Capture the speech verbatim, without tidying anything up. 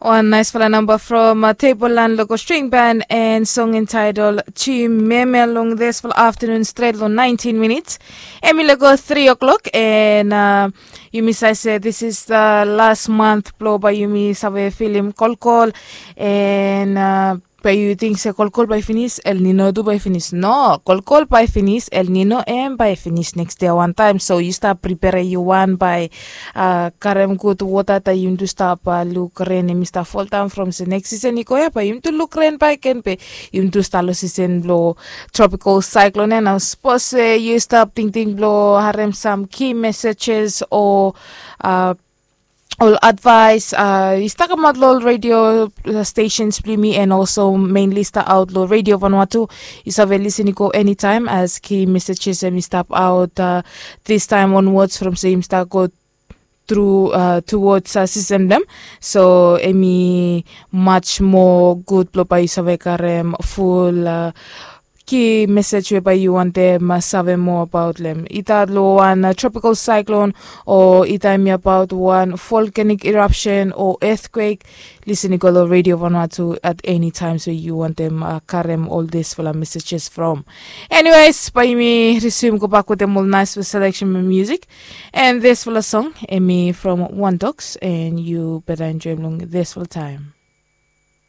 Wan naisfala namba from tebol lan logo string ban and song entitled timeme long disfala aftanun stret long nineteen minits. Em i logo three o'clock and uh, yumi save se this is the last month blo bai yumi save filim kolkol and uh, bai yu ting se kolkol bai finis, El Nino tu bai finis. No, kolkol bai finis, El Nino em bai finis next day wantaim. So yu stap pripere yu wan bai uh, karem gud wota ta yum tu stap uh, luk ren em i stap foldaun from se next season i go ya bai yum tu luk ren bai ken pe yum tu stap lo season blo tropical cyclone ya. Na sapos se yu stap tingting blo harem sam key messages o uh, ol advice uh, i stap kamaot lo ol radio uh, stations bli mi and also mainly stap aot lo radio vanua tu. Yu save lisin i go anytime as key messages em i stap aot uh, this time onwards from se im stap go through uh, towards uh, system dem. So em i much more good blo bai yu save karem full uh, ki message we bai yu wantem uh, save moa abaot lem i tat lo wan uh, tropical cyclone o i taim i abaot wan volcanic eruption o earthquake. Lisin i go lo radio vanua tu at any time so yu wantem uh, karem ol disfala messages from. Anyways bai mi resume go bak wetem ol nice selection music and disfala song em i from one dogs and yu beta enjoy long disfala time.